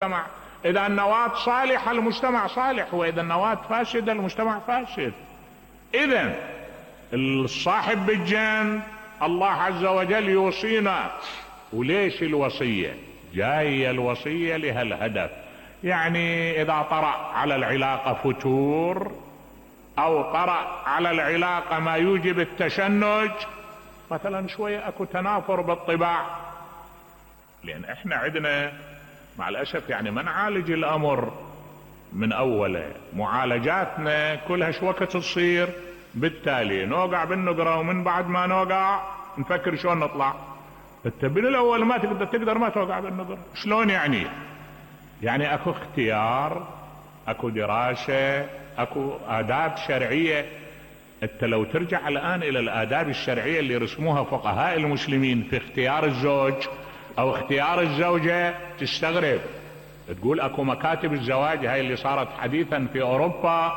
المجتمع. إذا النواة صالحة المجتمع صالح، وإذا النواة فاسدة المجتمع فاسد. إذن الصاحب بالجن الله عز وجل يوصينا. وليش الوصية؟ جاية الوصية لهالهدف. يعني إذا طرأ على العلاقة فتور أو طرأ على العلاقة ما يوجب التشنج، مثلا شوية أكو تنافر بالطباع، لأن إحنا عندنا مع الأسف يعني ما نعالج الأمر من أوله، معالجاتنا كلها شو وقت تصير، بالتالي نوقع بالنقرة، ومن بعد ما نوقع نفكر شلون نطلع. انت بالأول ما تقدر ما توقع بالنقرة. شلون يعني؟ يعني اكو اختيار، اكو دراسة، اكو آداب شرعية. انت لو ترجع الآن إلى الآداب الشرعية اللي رسموها فقهاء المسلمين في اختيار الزوج او اختيار الزوجة تستغرب. تقول اكو مكاتب الزواج هاي اللي صارت حديثا في اوروبا،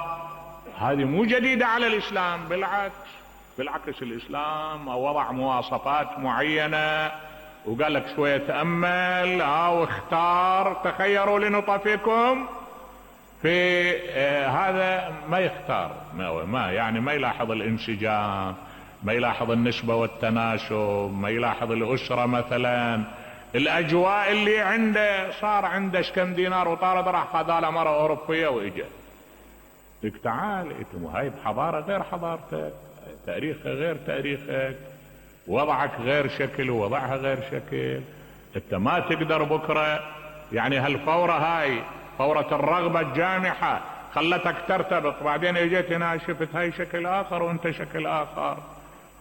هذه مو جديدة على الاسلام، بالعكس الاسلام وضع مواصفات معينة وقال لك شوية تأمل واختار، تخيروا لنطفكم في هذا ما يختار، ما يعني ما يلاحظ الانسجام، ما يلاحظ النسبة والتناسب، ما يلاحظ الأسرة مثلا، الأجواء اللي عنده. صار عنده كم دينار وطارد راح خذاله مرة أوروبية وإجا. لك تعال هاي بحضارة غير حضارتك، تاريخها غير تاريخك، وضعك غير شكل ووضعها غير شكل. انت ما تقدر بكرة يعني هالفورة هاي فورة الرغبة الجامحة خلتك ترتبط، بعدين اجيت هنا شفت هاي شكل اخر وانت شكل اخر،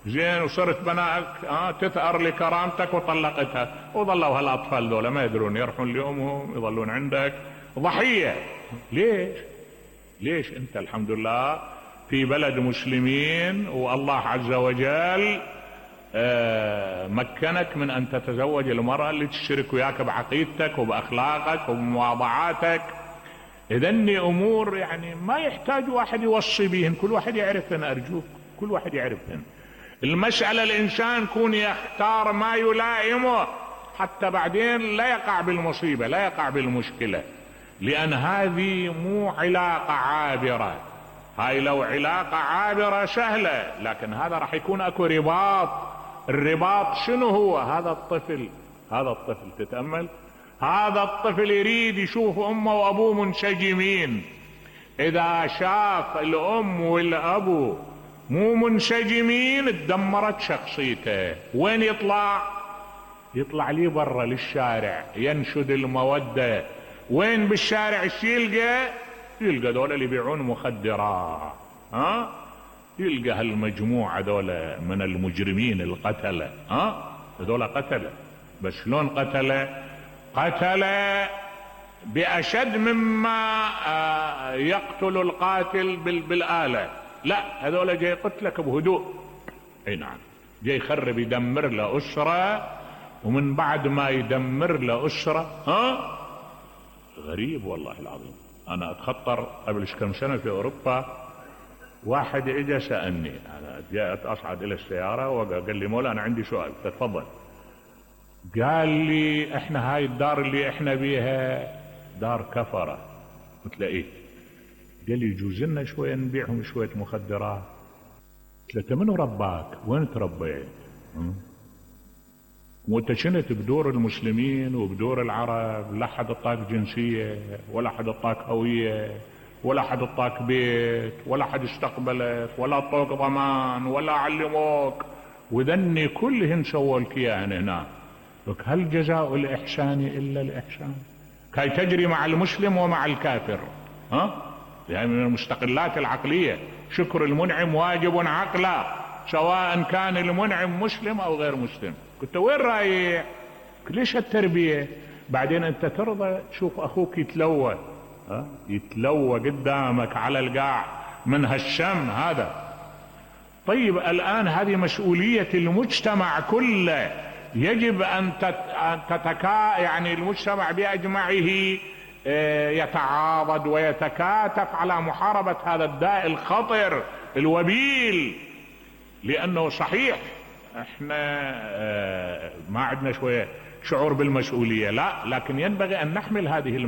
زين وصرت بنائك تثأر لكرامتك وطلقتها، وظلوا هالاطفال دول ما يدرون يروحون لامهم، يظلون عندك ضحية. ليش انت الحمد لله في بلد مسلمين، والله عز وجل مكنك من ان تتزوج المرأة اللي تشترك وياك بعقيدتك وباخلاقك وبمواضعاتك. اذني امور يعني ما يحتاج واحد يوصي بهن، كل واحد يعرفهن، ارجوك كل واحد يعرفهن. المسألة الانسان يكون يختار ما يلائمه حتى بعدين لا يقع بالمصيبة، لا يقع بالمشكلة، لان هذه مو علاقة عابرة. هاي لو علاقة عابرة سهلة، لكن هذا راح يكون اكو رباط. الرباط شنو هو؟ هذا الطفل تتأمل، هذا الطفل يريد يشوف امه وابوه منسجمين. اذا شاف الام والابو مو منسجمين اتدمرت شخصيته. وين يطلع لي برا للشارع ينشد المودة. وين بالشارع ايش يلقى دول اللي يبيعون مخدرات، يلقى هالمجموعة دول من المجرمين القتلة، هذول قتلة. بس شلون قتلة بأشد مما يقتل القاتل بالآلة. لا، هذول جاي يقتلك بهدوء. اي نعم، جاي يخرب يدمر له أسرة، ومن بعد ما يدمر له أسرة غريب والله العظيم. انا اتخطر قبل كم سنة في اوروبا، واحد اجى سألني، انا جاءت اصعد الى السيارة وقال لي مولا انا عندي سؤال. تفضل. قال لي احنا هاي الدار اللي احنا بيها دار كفرة. قلت له ايه؟ قال لي يجوز لنا شوية نبيعهم شوية مخدرات. قلت له منو رباك؟ وين تربيت؟ وانت شنت بدور المسلمين وبدور العرب؟ لا حد اعطاك جنسية، ولا حد اعطاك هوية، ولا حد اعطاك بيت، ولا حد استقبلك، ولا اعطوك ضمان، ولا علموك، وذني كلهن سووا لك اياهن هنا. هل جزاء الاحسان الا الاحسان؟ كي تجري مع المسلم ومع الكافر. يعني من المستقلات العقلية شكر المنعم واجب عقلا، سواء كان المنعم مسلم او غير مسلم. كنت وين رايح؟ ليش هالتربية؟ بعدين انت ترضى تشوف اخوك يتلوى قدامك على القاع من هالشم هذا؟ طيب الان هذه مسؤولية المجتمع كله، يجب ان يعني المجتمع باجمعه يتعاضد ويتكاتف على محاربة هذا الداء الخطر الوبيل. لانه صحيح احنا ما عندنا شوية شعور بالمسؤولية، لا، لكن ينبغي أن نحمل هذه المسؤولية